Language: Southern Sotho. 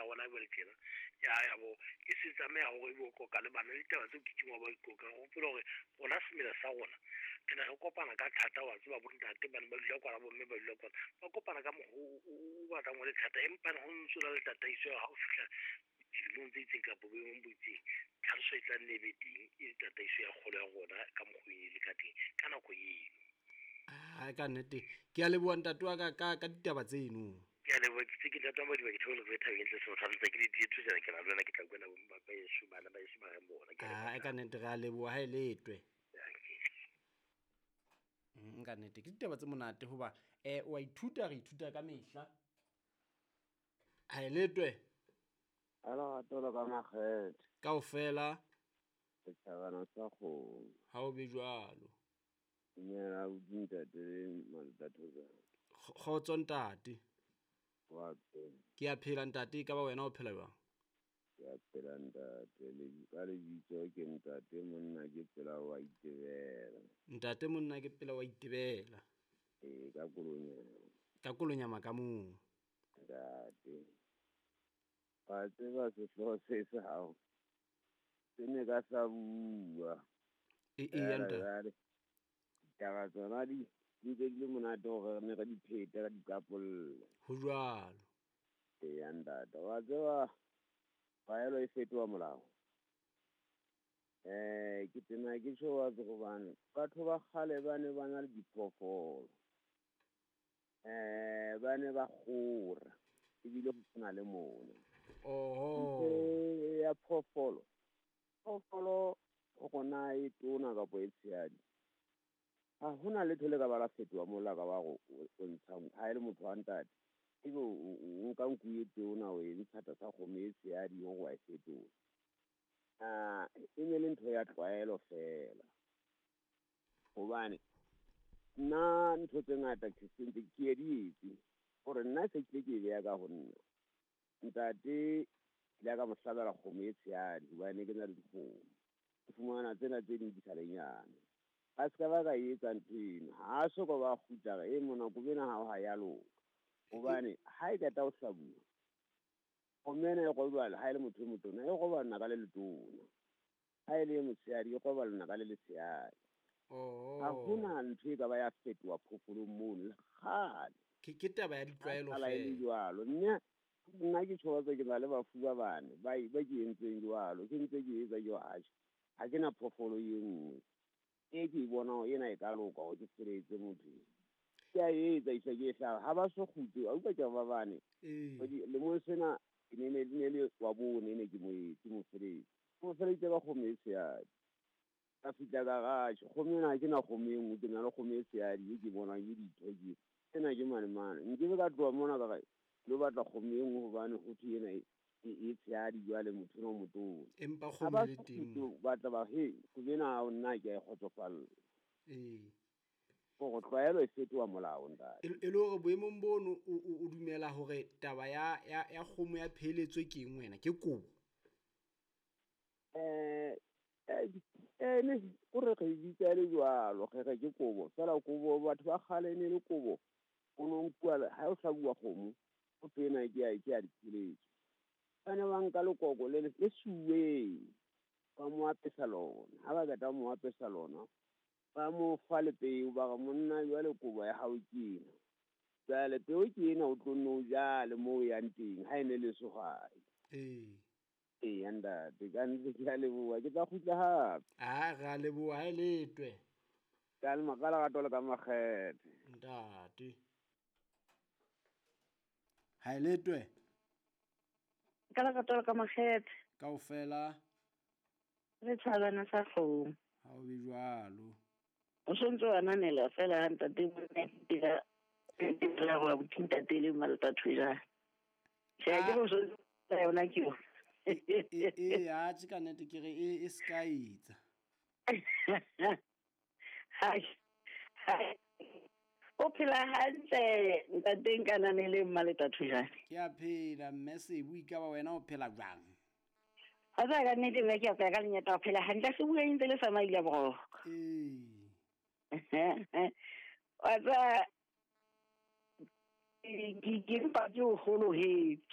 ya rona jwale tjena ya ya bo e se tlameha hore ebe o qoqa le bana ditaba tseo ke wa ba di qoqang. Hopola hore rona semela sa rona re ne re kopana ka thata, wa tseba, bontate ba ne ba dula kwana, bomme ba dula kwana, ba kopana ka mokgwa o batlang o le thata, empa ho ntso na le tataiso ya ha o fihla dilemong tse itseng kapa boemong bo itseng, tlhaloso e tla nne e be teng, e le tataiso ya kgolo ya rona ka mokgwa e le ka teng ka nako eno. Ai ka nnete ke a leboha ntate wa ka ditaba tseno. Ke a leboha, ke tse ke ntate wa Madiba, ke theohela ke thabeng ntle se tlhalosa ke di tsena ke na le wena, ke tla kwena ba yeso bana ba yeso ba reng bona. Ke a ka nnete re a leboha ha e letwe. Ka nnete ke ditaba tse monate hoba wa ithuta, re ithuta ka mehla. Ha e letwe. Ala tolo ka makgethe. Kaofela. Setjhabana sa kgomo. Ha o be jwalo. Dumela ntate le Maltathoza. Kgotso ntate. Wa phela. Ke a phela ntate, e ka ba wena o phela jwang? Ke a phela ntate, le ka lebitso ke ntate monna ke pela wa itebela. Ntate monna ke pela wa itebela. Ee, ka Kolonyama. Ka Kolonyama ka moo. Ntate. Wa tseba sehlooho se sa hao. Se ne ka sa bua. E ya ntate. Ditaba tsona di ntse di le monate hore re ne re di phete re di qapolle. Ho jwalo. Eya ntate, wa tseba tlwaelo e fetoha molao. Ke tena ke tjho wa tseba hobane batho ba kgale ba ne ba na le diphoofolo. Ba ne ba kgora ebile ho sena le mona. Oho. Ya phoofolo. Phoofolo hore na e tona kapa e tshehadi. Ha hona letho le ka ba la fetoha mola ka ba go o ntsha ha e le motho wa ntate. Ebe o nka nku e tona o e ntsha tlasa kgomo e tshehadi hore wa e fetola. E ne le ntho ya tlwaelo feela. Hobane nna ntho tse ngata ke sentse ke ye di etse hore nna se ke ke beya ka ho nna. Ntate ke ile ka mo hlabela kgomo e tshehadi hobane ke na le dikgomo. Ke fumana tsena tse ding di sa le nyane. A se ka ba ka etsa ntho eno, ha so ka ba kgutla e mona kobena ha o ha ya loka. Hobane ha e qeta ho hlabuwa, kgomo ena e robala ha e le motho e motona, e robala naka le letona. Ha e le motshehadi, e robala naka le letshehadi. Ha hona ntho e ka ba ya fetoha phoofolong mono le kgale. Ke taba ya ditlwaelo feela. E le jwalo. Nna ke tjho ke na le bafu ba bane ba ke entseng jwalo, ke ntse ke etsa jwalo. Ha ke na phoofolo e nngwe. E ke bona ena e ka loka hore ke feletse motho. Ke a etsa isa ke hlaba ha ba so kgutle, a utlwa ke ba bane. Lemong sena ke ne le wa bone ne ke mo etse mo feletse. Mo feletse ka kgomo e tshehadi. Ka fihla ka garage, kgomo ena ha ke na kgomo e nngwe, ke na le kgomo e tshehadi e ke bonang ke ditho ke. Ena ke mane mane. Nkebe ka tloha mona ka re lo batla kgomo e nngwe hobane ho thwe ena e tshehadi jwale motho ena o motona. Empa kgomo le teng. Ba tla ba he, kobena ha nna ke a e kgotsofalla. Ee. Hore tlwaelo e fetoha molao ntate. E le hore boemong bono o dumela hore taba ya kgomo ya pheletso ke eng wena, ke kobo? Ne o re re bitsa le jwalo, re re ke kobo. Feela kobo batho ba kgale ne le kobo. O no nkuwa ha o hlabuwa kgomo, o tsena ke ya dipheletso. Ba ne ba nka lekoko le le suweng, ba mo apesa lona. Ha ba qeta mo apesa lona, ba mo fa le peo, ba re monna jwale kobo ya hao ke ena. Jwale peo ke ena o tlo nno o jale moo o yang teng ha e ne le sehwai. Ee. Eya ntate, ka nnete ke a leboha, ke tla kgutla hape. A re a leboha ha e letwe. Ka le ka lerato le ka makgethe. Ntate. Ha e letwe. Ka lerato le ka makgethe. Kaofela. Re tshwarana sa kgomo. Ha o be jwalo. O sontso wa ananela fela ha ntate monna ke la go abuti ntate le Maltathoza. Tjhe, ke go sontso yona ke yona. E a tje ka nnete ke re e se ka etsa. Hai. O phela hantle ntate nkananele Maltathoza. Ke a phela mme Sebu, e ka ba wena o phela jwang? Ha ba ka nnete mme ke a phela ka lenyata, o phela hantle se bua ntse le sa maile bro. Ee. Wa tsa ke mpa ke o holohetse.